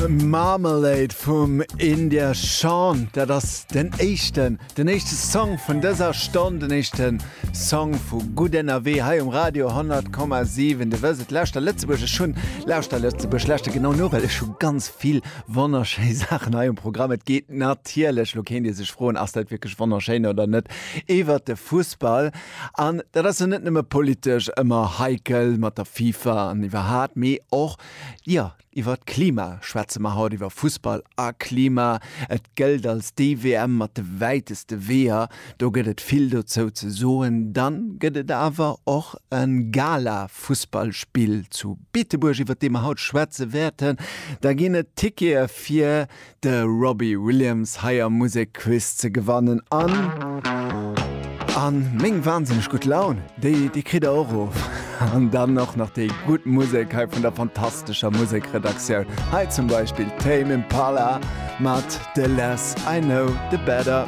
Marmalade vum India Shawn, dat ass den éischten, den éischte Song vun dëser Stonn, den éischte Song vu Gutt Ënnerwee hei um Radio 100,7. De wësst et, lauschter Lëtzebuerg, ech hunn, lauschter Lëtzebuerg, lauschter genau no, well ech hu ganz vill wonnerschéi Saachen hei um Programm. Et geet natierlech, lo kéint Dir sech froen, ass dat wierklech wonnerschéin oder net, iwwert de Fussball. An dat ass jo net nëmme politesch ëmmer heikel mat der FIFA an iwwerhat, mee och, jo, iwwer d'Klima schwätze mer haut, iwwer Fussball a Klima. Et gëllt als déi WM mat de wäiteste Weeër. Do gëtt et vill dozou ze soen. Dann gëtt et awer och e Gala-Fussballspill zu Beetebuerg, iwwer dee mer haut schwätze wäerten. Da ginn et Tickete fir de Robbie Williams hei am Musekquiz ze gewannen an an meng wahnsinneg gutt Laun, déi déi kritt der och of. An dann och nach déi gutt Musek hei vun der fantastescher Musekredaktioun. Hei zum Beispill Tame Impala mat The Less I Know The Better.